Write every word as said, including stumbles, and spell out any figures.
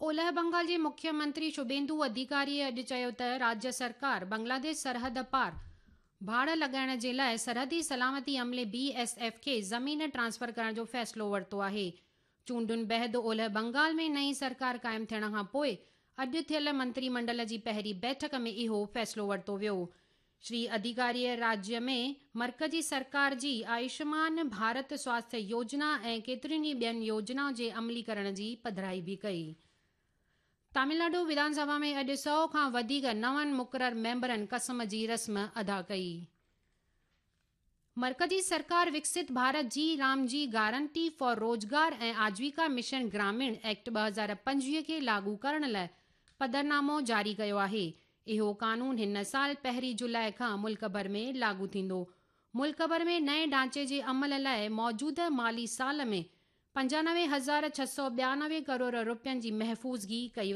اولهه بنگال جي مکيه منتري شڀيندو اڌيڪاريء اڄ چيو ته راجيه سرڪار بنگلاديش سرحد پار ڀاڙ لڳائڻ جي لاءِ سرحدي سلامتي عملي بي ايس ايف کي زمين ٽرانسفر ڪرڻ جو فيصلو ورتو آهي. چونڊن بعد اولهه بنگال ۾ نئين سرڪار قائم ٿيڻ کان پوءِ اڄ ٿيل منتري منڊل جي پهرين بيٺڪ ۾ اهو فيصلو ورتو ويو. شري اڌيڪاريء راجيه ۾ مرڪزي سرڪار جي آيوشمان ڀارت سواسٿيه يوجنا ۽ ڪيترين ئي ٻين يوجنائن جي عملي ڪرڻ جي پڌرائي به ڪئي. تامل ناڊو وڌان سڀا ۾ اڄ سؤ کان وڌيڪ نون مقرر ميمبرن قسم جي رسم ادا ڪئي. مرڪزي سرڪار وڪست ڀارت جي رام جي گارنٽي فار روزگار ۽ آجيوڪا مشن گراميڻ ايڪٽ ٻه هزار پنجويهه کي لاڳو ڪرڻ لاءِ پڌرنامو جاري ڪيو آهي. اهو قانون هن سال پهرين جولاءِ کان ملڪ ڀر ۾ لاڳو ٿيندو. ملڪ ڀر ۾ نئين ڍانچي جي عمل لاءِ موجوده مالي سال ۾ پنجانوي هزار ڇهه سؤ ٻيانوي ڪروڙ رپين جي محفوظگي ڪئي.